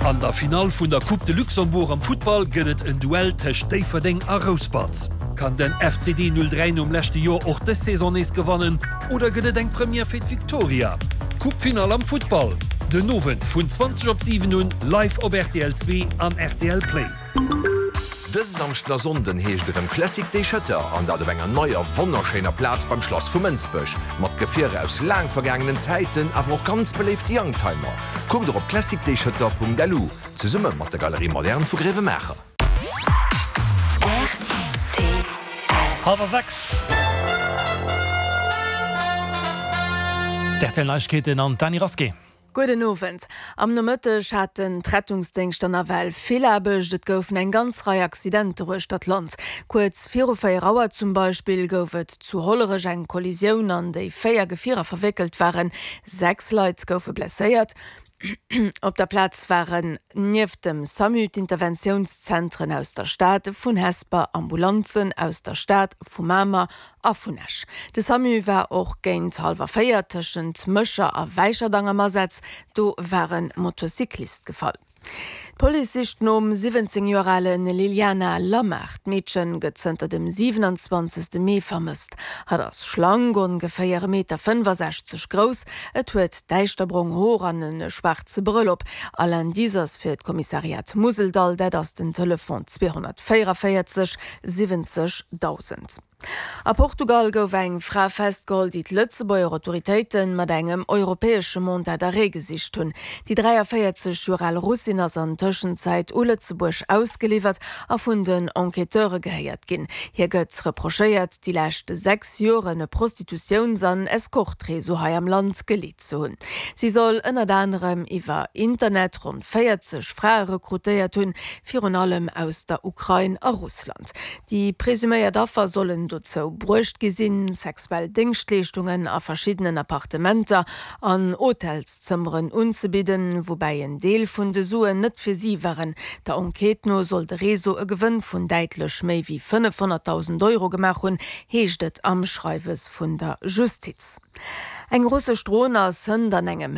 An der Finall vun der Coupe de Luxembourg am Futtball gëtt et en Duell tëscht Déifferdeng a Rouspert. Kann den FCD 03 nom leschte Joer och dës Saison nees gewannen oder gëtt et eng Première fir d'Victoria? D'Coupe-Finall am Futtball den Owend vun 20 op 7 un live op rtl 2 an rtl Play. Dëse Samschden a Sonnden heescht erëm Classic Day Schëtter an dat op enger neier wonnerschéiner Plaz beim Schlass vu Mënsbech. Mat Gefierer aus laang vergaangenen Zäiten, awer och ganz beléift Youngtimer. Kuckt och op classicdayschëtter.lu, zesumme mat der Galerie Moderne vu Gréiwemaacher. Rtl. Hallwer 6. D'RTL Neiegkeeten an d'Dany Rasqué. Gudden Owend. Am Nomëtteg haten d'Rettungsdéngschter nawell vill Aarbecht. Et goufen eng ganz Rei Accidenter uechter d'Land. Kuerz viru 4 Auer zum Beispill gouf et zu Hollerech eng Kollisioun, an déi 4 Gefierer verwéckelt waren. 6 Leit goufe blesséiert. Op der Plaz waren nieft dem Samu d'Interventiounszentren aus der Stad, vun Hesper, Ambulanzen aus der Stad, vu Mamer a vun Esch. De Samu war och géint hallwer 4 tëschent Mécher a Wäicherdang am Asaz. Do war e Motocyclist gefall. D'Police sicht nom 17 Joer ale Liliana Lamar. D'Meedchen gëtt zënter dem 27. Mee vermësst. Hatt ass schlank, ongeféier e Meter 65 grouss. Et huet däischterbrong Hoer an e schwaarze Brëll op. All Indice ass fir d'Kommissariat Museldall, dat ass den Telefon 244 70 1.000. A Portugal gouf eng Fra festgeholl, déi d'Lëtzebuerger Autoritéite mat engem europäesche Mandat d'arrêt gesicht hunn. Déi 43 Joer al Russin ass an Tëschenzäit u Lëtzebuerg ausgeliwwert a vun den Enquêteure gehéiert ginn. Hir gëtt reprochéiert, déi lescht 6 Joren e Prostitutiouns an Escorte-Réseau hei am Land geleet ze hunn. Si soll ënnert anerem iwwer Internet ronn 40 Frae rekrutéiert hunn, virun allem aus der Ukrain a Russland. Déi presuméiert Affer sollen dozou bruecht gi sinn, sexuell Déngschtleeschtungen a verschiddenen Appartementer an Hotelszëmmeren unzebidden, woubäi en Deel vun de Suen net fir si waren. Der Enquête no soll de Réseau e Gewënn vun däitlech méi wéi 500.000 Euro gemaach hunn, heescht et am Schreiwes vun der Justiz. Eng russesch Dron ass hënt an engem.